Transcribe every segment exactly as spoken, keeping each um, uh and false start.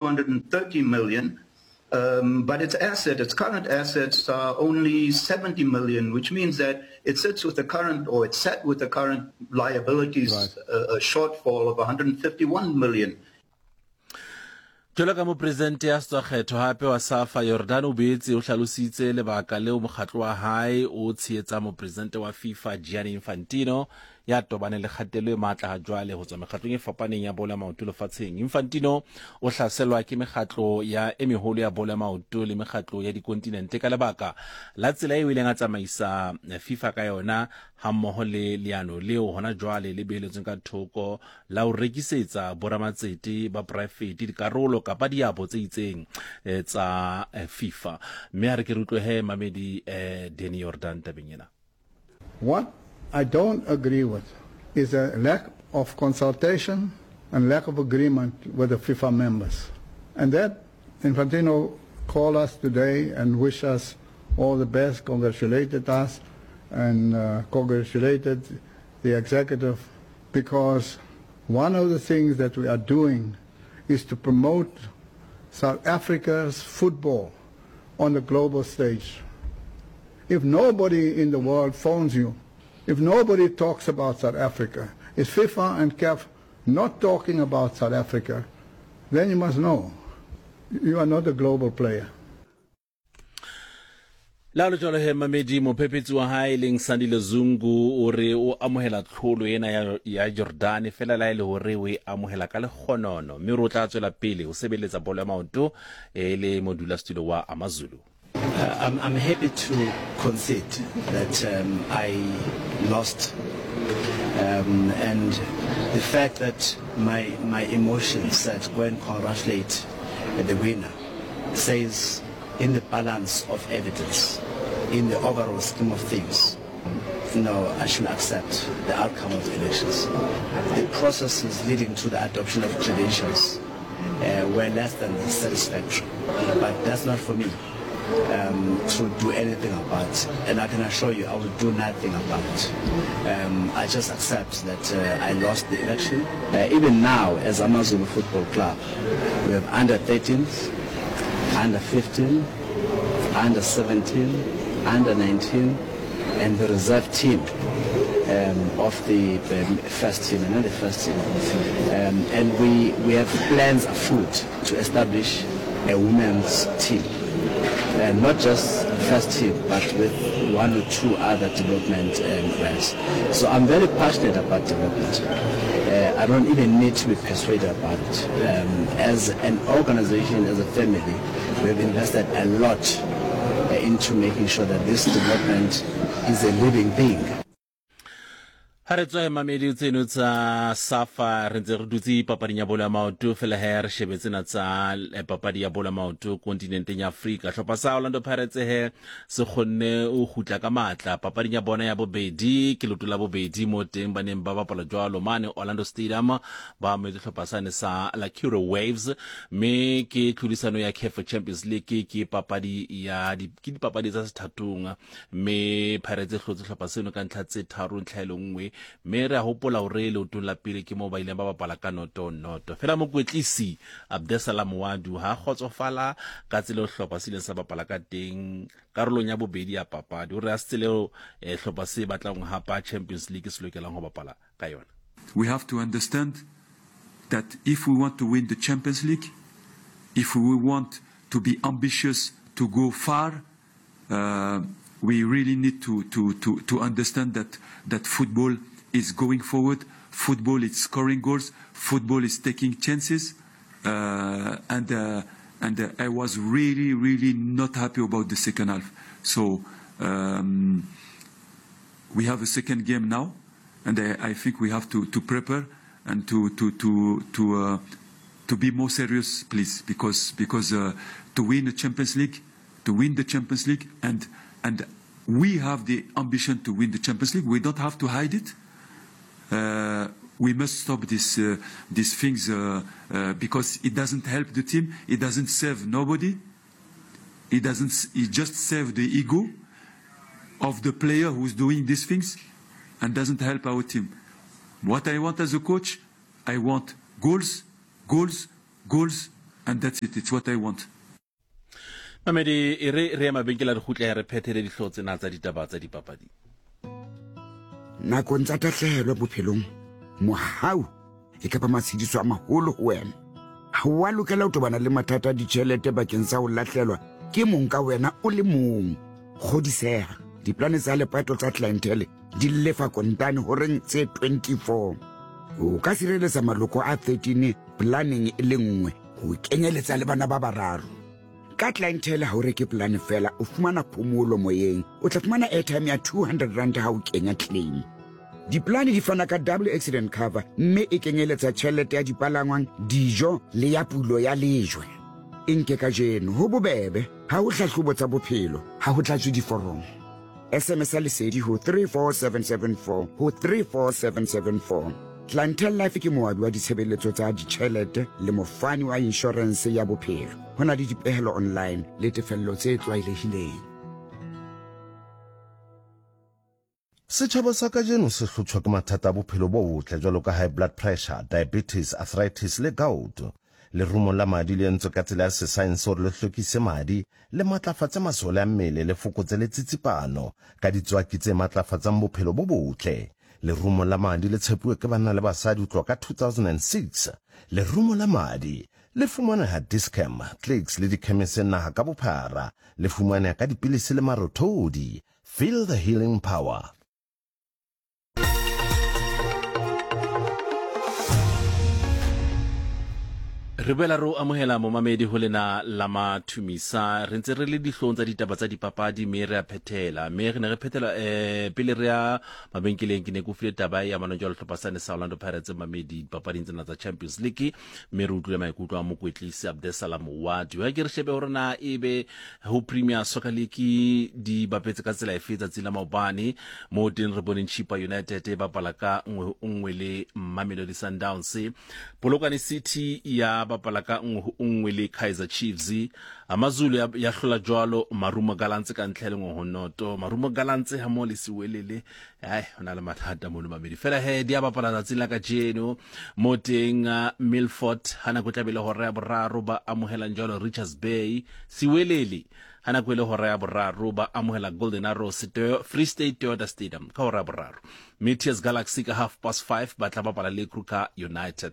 hundred thirty million, um, but its asset, its current assets are only seventy million, which means that it sits with the current, or it sat with the current liabilities, Right. uh, a shortfall of a hundred fifty-one million. Jwalo ka mopresidente ya sa tswa kgethwa hape wa SAFA, Jordaan o boetse o hlalositse lebaka leo mokgatlo wa hae o tshehetsang mopresidente wa FIFA Gianni Infantino ya tobaneng le kgatello e matla ha jwale ho tswa mekgatlong e fapaneng ya bolo ya maoto lefatsheng. Infantino o hlaselwa ke mekgatlo ya e meholo ya bolo ya maoto le mekgatlo ya dikontinente ka lebaka la tsela eo ileng a tsamaisa FIFA ka yona hammoho le leano leo hona jwale le beheletsweng ka thoko la ho rekisetsa boramatsete ba poraefete dikarolo kapa diabo tse itseng, eh, tsa, eh, FIFA. Mme ha re ke re utlwe he mamedi, eh, Danny Jordaan tabeng ena. What I don't agree with is a lack of consultation and lack of agreement with the FIFA members. And that Infantino called us today and wished us all the best, congratulated us, and, uh, congratulated the executive, because one of the things that we are doing is to promote South Africa's football on the global stage. If nobody in the world phones you, if nobody talks about South Africa, if FIFA and C A F not talking about South Africa, then you must know you are not a global player. La lo jwalo he mamedi, mophephetsi wa hae leng Sandile Zungu o re o amohela tlholo ena ya, ya Jordaan fela la e le hore o e amohela ka lekgonono, mme o tla tswela pele ho sebeletsa bolo ya maoto e le modulasetulo wa AmaZulu. Uh, I'm, I'm happy to concede that, um, I lost, um, and the fact that my, my emotions said go and congratulate the winner says in the balance of evidence, in the overall scheme of things, no, I should accept the outcome of the elections. The processes leading to the adoption of credentials, uh, were less than satisfactory, but that's not for me, um, to do anything about, and I can assure you I will do nothing about it. Um, I just accept that, uh, I lost the election. Uh, even now, as AmaZulu Football Club, we have under thirteens, under fifteen, under seventeen, under nineteen, and the reserve team, um, of the, um, first team, and not the first team. Um, and we, we have plans afoot to establish a women's team. Uh, not just first team, but with one or two other development, um, plans. So I'm very passionate about development. Uh, I don't even need to be persuaded about it. Um, as an organization, as a family, we have invested a lot, uh, into making sure that this development is a living thing. Ha re tswa mamedi tseno tsa SAFA, re ntse re dutse papading ya bolo ya maoto fela he re shebe tsena tsa, eh, papadi ya bolo ya maoto kontinenteng ya Afrika. Hlopha sa Orlando Pirates he se kgonne ho kgutla ka matla papading ya bona ya bobedi, ke leoto la bobedi mo teng ba neng ba bapala jwalo mane Orlando Stadium, ba amohetse hlopha sane sa Lacura Waves, mme ke tlhodisano ya C A F Champions League, ke papadi ya di, ke dipapadi tsa sethatong, mme Pirates e hlotse hlopha seno ka ntlha tse tharo ntlha e le nngwe, mme re a hopola hore leotong la pele ke moo ba ileng ba bapala ka noto noto. Fela mokwetlisi Abdesalam Wadu ha kgotsofala ka tsela eo hlopha se ileng sa bapala ka teng karolong ya bobedi ya papadi, o re a se tsela eo, eh, hlopha se batlang ho hapa Champions League se lokelang ho bapala ka yona. We have to understand that if we want to win the Champions League, if we want to be ambitious to go far, uh, we really need to, to, to, to understand that, that football is going forward, football is scoring goals, football is taking chances, uh, and, uh, and, uh, I was really, really not happy about the second half. So, um, we have a second game now, and I, I think we have to, to prepare and to, to, to, to, uh, to be more serious, please, because, because, uh, to win the Champions League, to win the Champions League, and, and we have the ambition to win the Champions League. We don't have to hide it. Uh, we must stop this, uh, these things, uh, uh, because it doesn't help the team. It doesn't serve nobody. It doesn't. It just serves the ego of the player who's doing these things, and doesn't help our team. What I want as a coach, I want goals, goals, goals, And that's it. It's what I want. Mamedi e re re ya mabenkele re kgutle re phethele dihlooho tsena tsa ditaba tsa dipapadi. Nakong tsa tahlehelo bophelong, mohau e ka ba matshediso a maholo ho wena. Ha o a lokela ho tobana le mathata a ditjhelete bakeng sa ho lahlelwa ke mong ka wena o le mong. Kgodiseha, diplane tsa lepato tsa Clientele di lefa kontane horeng tse twenty-four. O ka sireletsa maloko a thirteen planeng e le nngwe ho kenyeletsa le bana ba bararo. Ka Clientele ha o reke plan fela, o fumana phomolo moyeng. O tla fumana airtime ya two hundred rand ha o kenya claim. Diplane di fana ka double accident cover mme e kenyeletsa tjhelete ya dipalangwang, dijo le ya pulo ya lejwe. E nke kajeno ho bobebe, ha ho hlahlobo tsa bophelo, ha ho tlatswe diforomo. S M S ya lesedi ho three four seven seven four ho three four seven seven four. Clientele Life ke moabi wa ditshebeletso tsa ditjhelete le mofani wa insurance ya bophelo. Ho na le dipehelo online le tefello tse tlwaelehileng. Setjhaba sa kajeno se hlotshwa ke mathata a bophelo bo botle jwalo ka high blood pressure, diabetes, arthritis le gout. Lerumo la madi le entswe ka tsela ya sesaense hore le hlwekise madi, le matlafatse masole a mmele, le fokotse le tsitsipano ka ditswaki tse matlafatsang bophelo bo botle. Lerumo la madi le tshepuwe ke banna le basadi ho tloha ka two thousand six. Lerumo la madi le fumaneha Dis-Chem, Clicks le dikhemese naha ka bophara. Le fumaneha ka dipilisi le marothodi. Feel the healing power. Re boela re o amohela momamedi ho lena la Mathumisa. Re ntse re le dihlong tsa ditaba tsa dipapadi mme re a phethela. Mme re ne re phethela eh pele re ya mabenkeleng ke ne ke file taba ya manong jwalo hlopha sane sa Orlando Pirates mamedi dipapading tsena tsa Champions League mme re utlwile maikutlo a mokwetlisi Abdesalam Wadi. Ha ke re shebe hore na ebe ho Premier Soccer League di bapetse ka tsela efe tsatsing la maobane mo teng re boneng Chippa United e bapala ka nngwe nngwe le Mamelodi Sundowns. Polokwane City ya bapala ka nngwe nngwe le Kaizer Chiefs. AmaZulu ya, ya hlola jwalo Marumo Gallants ka ntlha le nngwe ho noto. Marumo Gallants ha mo le Siwelele ai hona le mathata mono mamedi. Fela he di a bapala tsatsing la kajeno mo teng uh, Milford ha nako tla be le hora ya boraro ba amohelang jwalo Richards Bay. Siwelele ha nako ile hora ya boraro ba amohela Golden Arrows Free State Toyota Stadium ka hora ya boraro. Meteors Galaxy ka half past five ba tla bapala le Kruger United.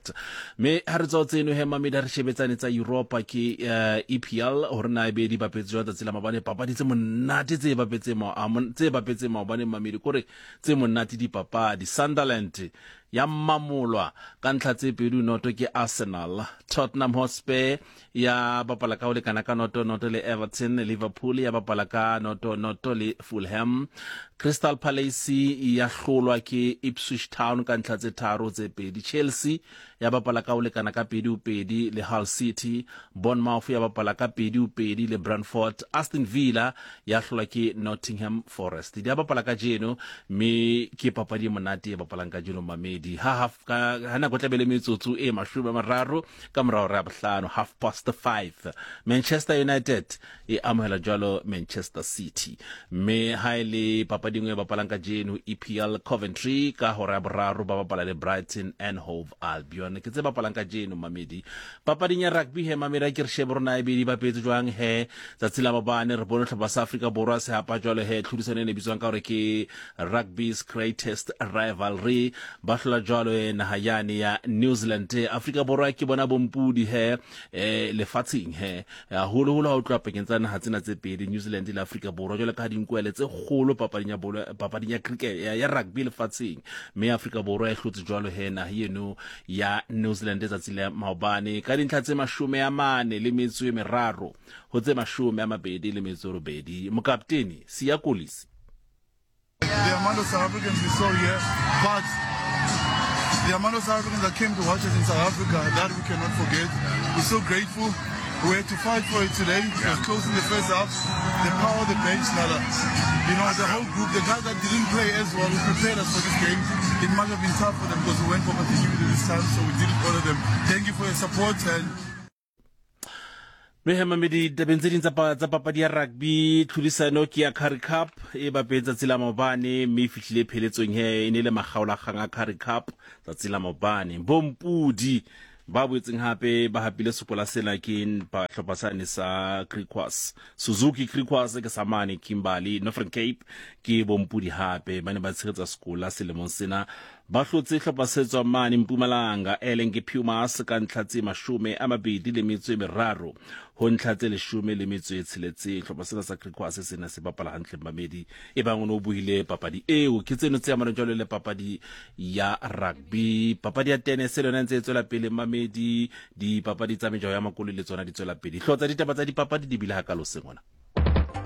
Me ha re tswa tseno he mamedi re shebetsane tsa Europa ke uh, E P L hore na ebe di bapetse jwang tsatsi la mabane papadi tse monate tse bapetse ma tse bapetse maobane mamedi kore tse monate di papadi. Sunderland ya mamolwa ka ntlha tse pedi noto ke Arsenal. Tottenham Hotspur ya bapala ka ho lekana ka noto noto le Everton. Liverpool ya bapala ka noto noto le Fulham. Crystal Palace ya hlolwa ke Ipswich Town ka ntlha tse tharo tse pedi. Chelsea ya bapala ka ho lekana ka pedi ho pedi le Hull City. Bournemouth ya bapala ka pedi ho pedi le Brentford. Aston Villa ya hlolwa ke Nottingham Forest. Di bapala ka jeno mme ke papadi e monate e bapalang ka jeno mamedi. Ha half ka ha nako tla be le metsotso e mashome a mararo ka morao re a bohlano, half past five. Manchester United e amohela jwalo Manchester City. Mme ha ile papadi nngwe e bapalang ka jeno E P L Coventry ka hora ya boraro ba bapala le Brighton and Hove Albion. Ke tse bapalang ka jeno mamedi. Papading ya rugby he mamedi ke re shebe rona e be di bapetse jwang he tsatsi la mabane re bone hlopha sa Afrika Borwa se hapa jwalo he tlhodisano e ne bitswang ka hore ke rugby's greatest rivalry ba hlola jwalo e naha yane ya New Zealand. Afrika Borwa ke bona bompudi he eh lefatsheng he haholoholo ha o tloha pakeng tsa naha tsena tse pedi New Zealand le Afrika Borwa jwalo ka dinkwele tse kgolo papading ya bolo papading ya cricket ya, ya rugby lefatsheng mme Afrika Borwa e hlotse jwalo he naha eno ya New Zealand tsatsi la maobane ka dintlha tse mashome a mane le metso e meraro ho tse mashome a mabedi le metso e robedi. Mokapteni Siya Kolisi. The amount of South Africans we saw here, but the amount of South Africans that came to watch us in South Africa, that we cannot forget. We're so grateful. We had to fight for it today. It was close in the first half. The power of the bench, Nala. You know, the whole group, the guys that didn't play as well, who prepared us for this game, it must have been tough for them because we went for continuity this time, so we didn't honor them. Thank you for your support. And Mme mamedi tabeng tse ding tsa papadi ya rugby tlhodisano ke ya Currie Cup e bapetse tsatsi la maobane mme e fihlile pheletsong he e ne le makgaolakgang a Currie Cup tsatsi la maobane. Bompudi Ba boetseng hape ba hapile sekola sena ke hlopha sane sa Griquas, Suzuki Griquas ke sa mane Kimberley, Northern Cape ke bompudi hape ba ne ba tshegetsa sekola selemong sena. Ba hlotse hlopha se tswang mane Mpumalanga e leng ke Pumas ka ntlha tse mashome a mabedi le metso e meraro ho ntlha tse leshome le metso e tsheletseng. Hlopha sena sa Griquas sena se bapala hantle mamedi e bang o ne o buile papadi eo. Ke tseno tse amanang jwalo le papadi ya rugby, papadi ya tennis le yona ntse e tswela pele mamedi, dipapadi tsa mejaho ya makoloi le tsona di tswela pele. Hlotsa ditaba tsa dipapadi di bile hakalo seng ona.